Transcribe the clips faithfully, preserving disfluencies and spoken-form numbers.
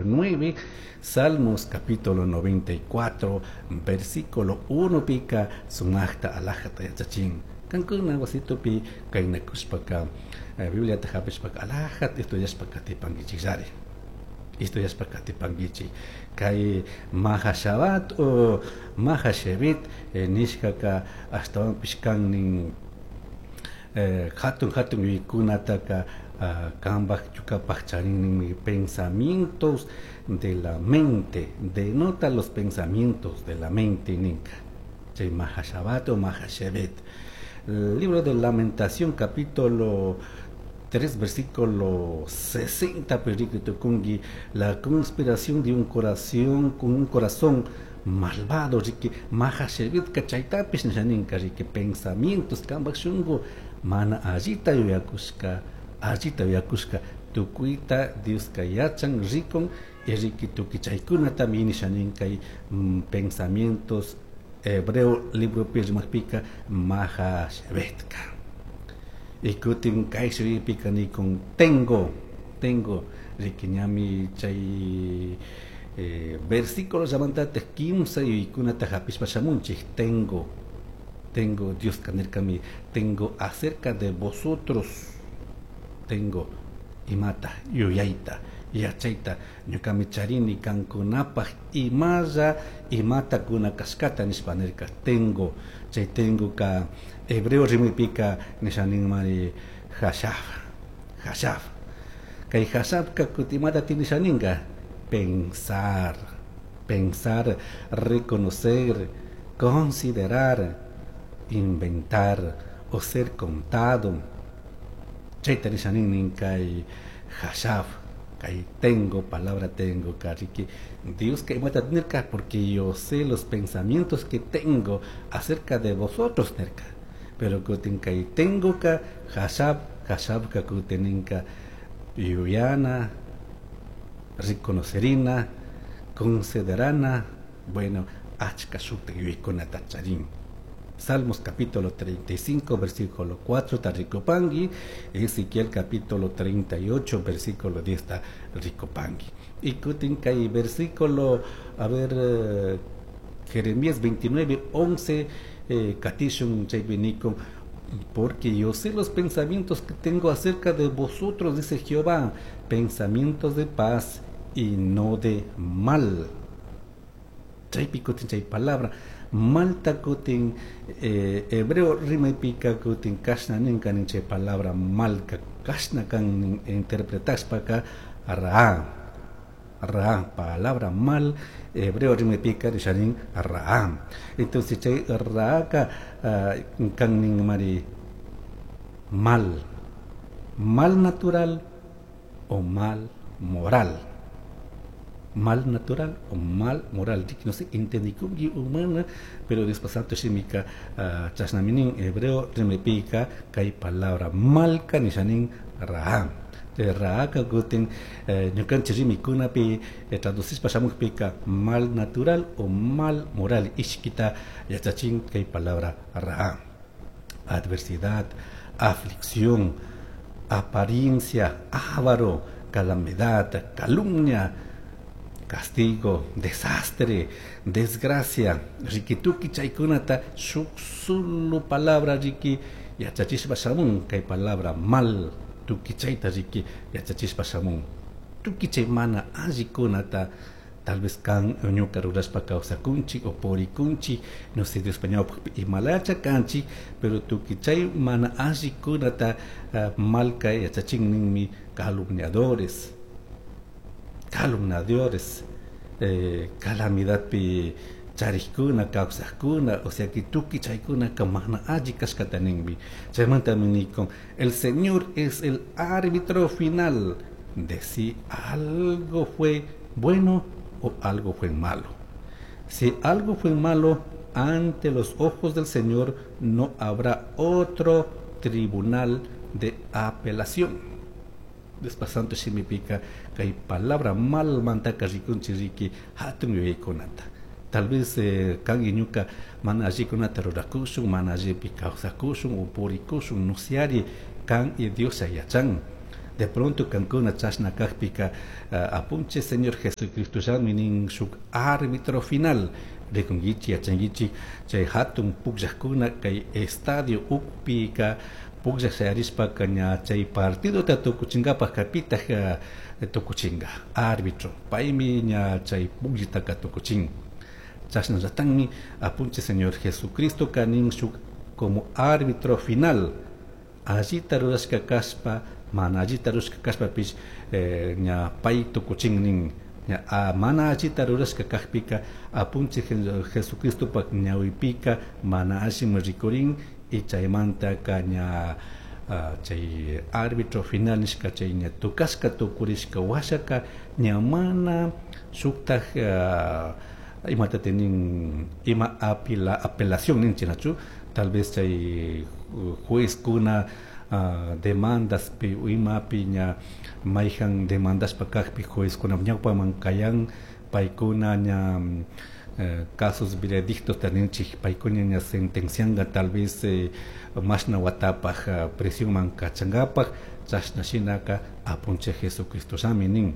nueve. Salmos capítulo noventa y cuatro versículo uno pika sumajta alajata yachachin. Kankuna wasitupi kaynakushpaka Bibliata hapishpaka alajata estudiashpaka tipankichikllari. Estudiashpaka tipankichik. Kay Mahashabat o Mahashevit eh, nishkaka ashtawanpish kannin eh, hatun hatun yuyaykunataka uh, kambaj chukapaj charinninmi pensamientos de la mente, denota los pensamientos de la mente ninka. Chay Mahashabat o Mahashevet. El libro de Lamentación capítulo tres versículo sesenta, perikitukungi, la conspiración de un corazón con un corazón malvado, riki Mahashevit kachaytapish nishaninka, riki pensamientos kambaj shungu mana allita yuyakushka, allita yuyakushka tukuyta Dioska yachan rikun y riki tukuy chaykunata nishaninka mm, pensamientos hebreo libro rimajpika Mahashevetka. Y kutin kay shuypika nikun tengo, tengo riki ñami chay eh, versículo llamantate kimsa yuyaykunata hapishpa shamunchik. Tengo, tengo Dios kanirkami, tengo acerca de vosotros, tengo imata yuyayta yachayta ñukami charini kankunapaj imalla imata kuna kashkata nishpa nirka. Tengo, chay tengo ka hebreo rimipika nishaninmari hashaf, hashaf. Kay hashafka kutimata tinishaninga pensar, pensar, reconocer, considerar, inventar o ser contado. Chayta nishanin kay hashaf, kay tengo, palabra tengo, kariki Dios que imata nirka, porque yo sé los pensamientos que tengo acerca de vosotros nirka. Pero kutin kay tengo ka hashaf, hashaf ka kuteninka yuyana, reconocerina, considerana, bueno, achka shukta yuyaykunata charin. Salmos capítulo treinta y cinco versículo cuatro está ricopangui, Ezequiel capítulo treinta y ocho versículo diez está ricopangui. Y kutin kay versículo, a ver, eh, Jeremías veintinueve once, eh, katishun chaypinico, porque yo sé los pensamientos que tengo acerca de vosotros, dice Jehová, pensamientos de paz y no de mal. Chaypi kutin chay palabra malta kutin eh, hebreo rimaypika kutin kashna ninka nin chay palabra malka kashna kan interpretashpaka ra'a, ra'a, palabra mal hebreo rimaypika rishanin ra'a. Entonces chay ra'aka uh, kan nin mari mal, mal natural o mal moral. Mal natural o mal moral. No sé, entendí humana, pero después shimika uh, chasnaminin hebreo rimepika kay palabra malka nishanin ra'a. Ra'a ka kutin ñukanchik rimikunapi traducishpa shamukpika mal natural o mal moral ishkita yachachin kay palabra ra'a. Adversidad, aflicción, apariencia, ávaro, calamidad, calumnia, castigo, desastre, desgracia. Rikituki chaykunata shuk solo palabra riki yachachishpa shamun kay palabra mal tuki chayta riki yachachishpa shamun. Tuki chay mana allikunata tal vez kan ñuka rurashpa kawsakunchik o purikunchik, no sé, Dios imalacha kanchik, pero tuki chay mana allikunata uh, malka yachachin ninmi calumniadores, calumniadores, eh, calamidad pi charikuna, kawsakuna, o sea que tuki chaykuna ka mana alli kashkata ninmi. Chaymanta minikon, el Señor es el árbitro final de si algo fue bueno o algo fue malo. Si algo fue malo, ante los ojos del Señor no habrá otro tribunal de apelación. Despasando shimipika kay palabra mal mantaka rikunchiriki hatun yuyaykunata. Tal vez eh, kan iñuka mana allikunata rurakushun, mana allipi kawsakushun o purikushun, no siari kan y Dios yachan. De pronto kankuna chashna kajpika uh, apunchik Señor Jesucristo llami nin shuk árbitro final rikunkichik yachankichik chay hatun pukllakuna kay estadio ukpika pukllak shayarishpaka ña chay partidota tukuchinkapaj pitaj uh, tukuchinka árbitro paymi ña chay pukllitaka tukuchin. Chashnallatanmi apunchik Señor Jesucristo nin shuk como árbitro final allita rurashka kashpa mana allita rurashka kashpapish eh, ña pay tukuchin nin ña a, mana allita rurashka kajpika apunchik Jesucristopak ñawipika mana allimi rikurin y chaymantaka ña uh, chay árbitro final nishka chay ña tukashka tukurishka washaka ña mana shuktaj uh, imata nin ima apela, apelación ninchik nachu tal vez chay juezkuna uh, demandaspi imapi ña mayjan demandashpa kajpi juezkuna ñawpaman kayan paykuna ña eh, casos veredictos ninchik paykuna ña sentencianga tal vez eh, mashna watapaj uh, prisionman kachankapaj chashna shinaka apunchik Jesucristo llami nin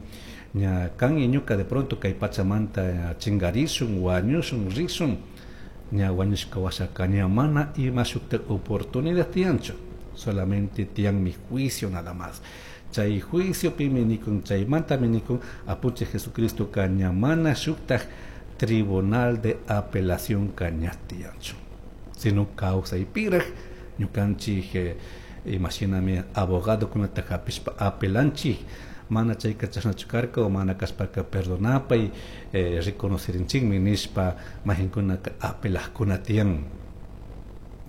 ña kan y ñuka de pronto kay pachamanta chingarishun wañushun rishun ña wañushka washaka ña mana ima shukta oportunidad tiyanchu solamente tiyanmi juicio nada más. Chay juicio pimi nikun chaymantami nikun apunchik Jesucristo ka ña mana shuktaj tribunal de apelación ka ña tiyanchu sino kawsaypiraj ñukanchik eh, imashinami abogado kunata hapishpa apelanchik mana chayka chashnachu karka o mana kashpaka perdonapay eh, reconocerinchikmi nishpa mahinkunaka apelajkuna tiyan.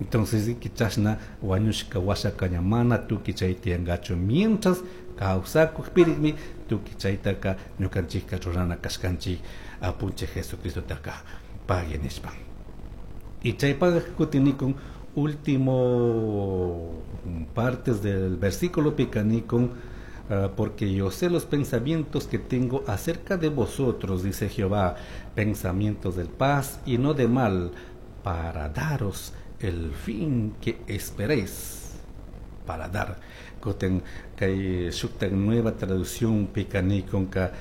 Entonces chashna wañushka washaka ña mana tukuy chay tiyankachu mientras kawsakukpirikmi tukuy chaytaka ñukanchikka rurana kashkanchik apunchik Jesucristotaka pagui nishpa. Y chaypaq kutin nikun último partes del versículo pika nikun uh, porque yo sé los pensamientos que tengo acerca de vosotros, dice Jehová, pensamientos de paz y no de mal, para daros el fin que esperéis. Para dar. Kutin kay shuktak nueva traducción pika nikun ka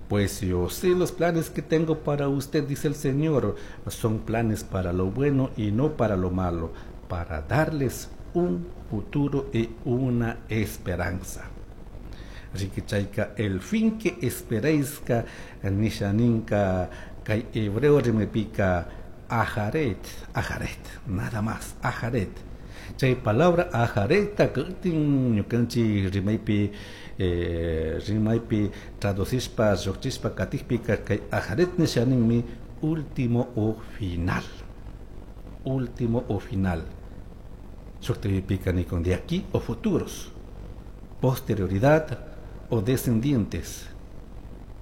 pues yo sé los planes que tengo para usted, dice el Señor, son planes para lo bueno y no para lo malo, para darles un futuro y una esperanza. Así que chayka el fin que esperéis ka nisha ninka kay hebreo rimepika ajaret, ajaret, nada más, ajaret. Chay palabra ajaret ta kutin ñukanchik rimaypi eh, rimaypi traducishpa lluqchishpa katijpika kay ajaret nisha ninmi último o final. Último o final. Shuktivipika nikun de aquí o futuros, posterioridad o descendientes,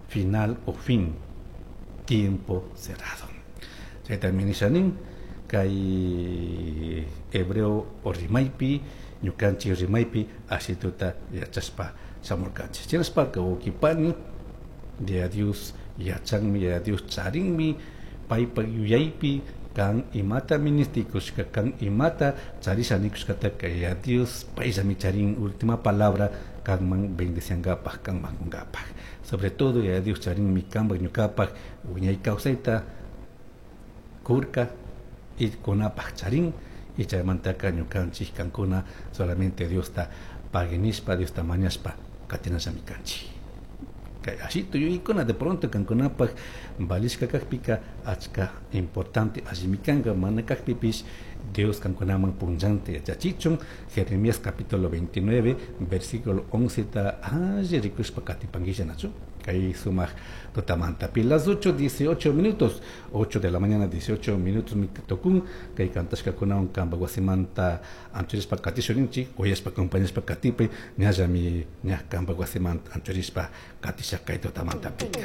final o fin, tiempo cerrado. Chaytami nisha nin kay hebreo o rimaypi ñukanchik rimaypi ashituta yachashpa shamurkanchik. Chinashpaka wawqipani Yaya Dios yachanmi, Yaya Dios charinmi paypak yuyaypi kan imata ministikushka kan imata charisha nikushkataka Yaya Dios payllami charin última palabra kanman bendiciankapaj kanman kunkapaj. Sobre todo Yaya Dios charinmi kanpak ñukapak wiñay kawsayta kurka y kunapaj charin y chaymantaka ñukanchik kankuna solamente Diosta pagui nishpa Diosta mañashpa katinallami kanchik. Kay ashito yuyaykuna de pronto kankunapaj valishka kajpika achka importante allimi kanka mana kajpipish Dios kankunaman punllanta yachachichun. Jeremías capítulo veintinueve versículo once ta alli rikushpa katipankilla nachu kay sumaq tutamantapi las ocho dieciocho minutos, ocho de la mañana dieciocho minutos mi tukun kay kantashkakunawan kanpak wasimanta anchurishpa katishunchik uyashpa acompañashpa katipay ñallami ña kanpak wasimanta anchurishpa katisha kay tutamantapika.